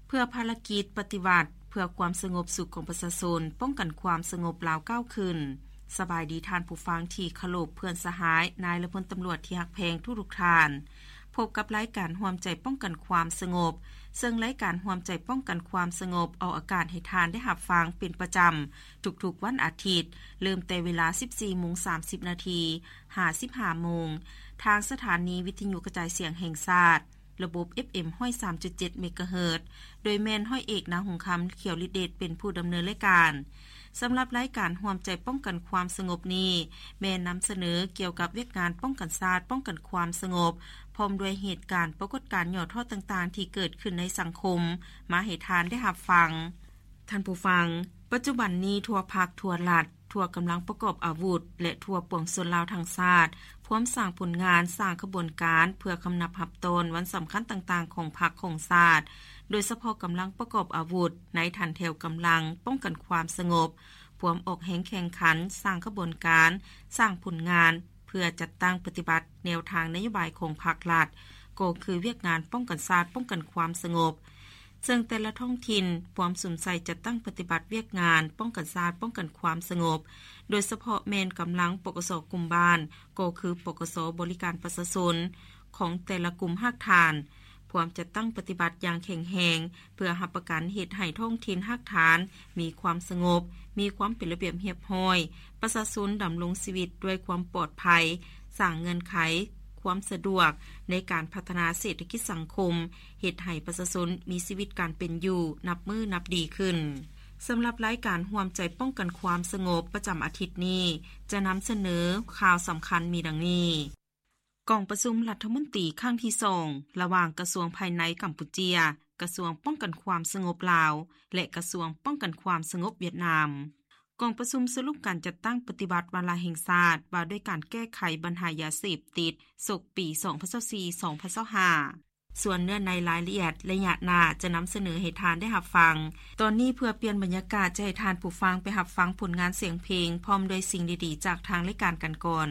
ເພື່ອພາລະກິດປະຕິວັດ ເພື່ອຄວາມສະຫງົບສຸກຂອງປະຊາຊົນ, ປ້ອງກັນຄວາມສະຫງົບລາວກ້າວຂຶ້ນ. ສະບາຍດີທ່ານຜູ້ຟັງທີ່ເຄົາລົບ, ເພື່ອນສະຫາຍ, ນາຍ ແລະ ພົນຕຳຫຼວດທີ່ຮັກແພງທຸກໆທ່ານ. ພົບກັບລາຍການຮ່ວມໃຈປ້ອງກັນຄວາມສະຫງົບ, ເຊິ່ງລາຍການຮ່ວມໃຈປ້ອງກັນຄວາມສະຫງົບອອກອາກາດໃຫ້ທ່ານໄດ້ຮັບຟັງເປັນປະຈຳທຸກໆວັນອາທິດ, ເລີ່ມແຕ່ເວລາສິບສີ່ໂມງສາມສິບນາທີ ຫາສິບຫ້າໂມງ ທາງສະຖານີວິທະຍຸກະຈາຍສຽງແຫ່ງຊາດ ລະບົບ ເອັຟເອັມ ຮ້ອຍສາມຈຸດເຈັດ ເມກາເຮີດ ໂດຍແມ່ນຮ້ອຍເອກ ນາຫົງຄຳ ຂຽວລິດເດດ ເປັນຜູ້ດຳເນີນລາຍການ. ສຳລັບລາຍການຮ່ວມໃຈປ້ອງກັນຄວາມສະຫງົບນີ້ ແມ່ນນຳສະເໜີກ່ຽວກັບວຽກງານປ້ອງກັນຊາດ, ປ້ອງກັນຄວາມສະຫງົບ, ພ້ອມດ້ວຍເຫດການ, ປາກົດການຫຍໍ້ທໍ້ຕ່າງໆທີ່ເກີດຂຶ້ນໃນສັງຄົມ ມາໃຫ້ທ່ານໄດ້ຮັບຟັງ. ທ່ານຜູ້ຟັງ, ປັດຈຸບັນນີ້ທົ່ວພັກ, ທົ່ວລັດ, ທົ່ວກຳລັງປະກອບອາວຸດ ແລະ ທົ່ວປວງຊົນລາວທັງຊາດ ພວມສ້າງຜົນງານ, ສ້າງຂະບວນການ ເພື່ອຄຳນັບຮັບຕ້ອນວັນສຳຄັນຕ່າງໆຂອງພັກຂອງຊາດ, ໂດຍສະເພາະກຳລັງປະກອບອາວຸດໃນຖັນແຖວກຳລັງປ້ອງກັນຄວາມສະຫງົບ, ພວມອອກແຮງແຂ່ງຂັນ, ສ້າງຂະບວນການ, ສ້າງຜົນງານ ເພື່ອຈັດຕັ້ງປະຕິບັດແນວທາງນະໂຍບາຍຂອງພັກລັດ, ກໍຄືວຽກງານປ້ອງກັນຊາດ, ປ້ອງກັນຄວາມສະຫງົບ. ເຊິ່ງແຕ່ລະທ້ອງຖິ່ນພວມສຸມໃສ່ຈັດຕັ້ງປະຕິບັດວຽກງານປ້ອງກັນຊາດ, ປ້ອງກັນຄວາມສະຫງົບ, ໂດຍສະເພາະແມ່ນກຳລັງ ປກສ ກຸ່ມບ້ານ, ກໍຄື ປກສ ບໍລິການປະຊາຊົນ ຂອງແຕ່ລະກຸ່ມຮາກຖານ, ພວມຈັດຕັ້ງປະຕິບັດຢ່າງແຂງແຮງ ເພື່ອຮັບປະກັນເຮັດໃຫ້ທ້ອງຖິ່ນຮາກຖານມີຄວາມສະຫງົບ, ມີຄວາມເປັນລະບຽບຮຽບຮ້ອຍ, ປະຊາຊົນດຳລົງຊີວິດດ້ວຍຄວາມປອດໄພ, ສ້າງເງື່ອນໄຂຄວາມສະດວກໃນການພັດທະນາເສດຖະກິດສັງຄົມ, ເຮັດໃຫ້ປະຊາຊົນມີຊີວິດການເປັນຢູ່ນັບມື້ນັບດີຂຶ້ນ. ສຳລັບລາຍການຮ່ວມໃຈປ້ອງກັນຄວາມສະຫງົບປະຈຳອາທິດນີ້ ຈະນຳສະເໜີຂ່າວສຳຄັນມີດັ່ງນີ້. ກອງປະຊຸມລັດຖະມົນຕີຄັ້ງທີສອງ ລະຫວ່າງກະຊວງພາຍໃນກຳປູເຈຍ, ກະຊວງປ້ອງກັນຄວາມສະຫງົບລາວ ແລະ ກະຊວງປ້ອງກັນຄວາມສະຫງົບຫວຽດນາມ. ກອງປະຊຸມສະຫຼຸບການຈັດຕັ້ງປະຕິບັດວາລະແຫ່ງຊາດ ວ່າດ້ວຍການແກ້ໄຂບັນຫາຢາເສບຕິດ ສົກປີສອງພັນຊາວສີ່ ສອງພັນຊາວຫ້າ. ສ່ວນເນື້ອໃນລາຍລະອຽດໄລຍະໜ້າຈະນຳສະເໜີໃຫ້ທ່ານໄດ້ຮັບຟັງ. ຕອນນີ້ເພື່ອປ່ຽນບັນຍາກາດ ຈະໃຫ້ທ່ານຜູ້ຟັງໄປຮັບຟັງຜົນງານສຽງເພງ ພ້ອມດ້ວຍສິ່ງດີໆຈາກທາງລາຍການກັນກ່ອນ.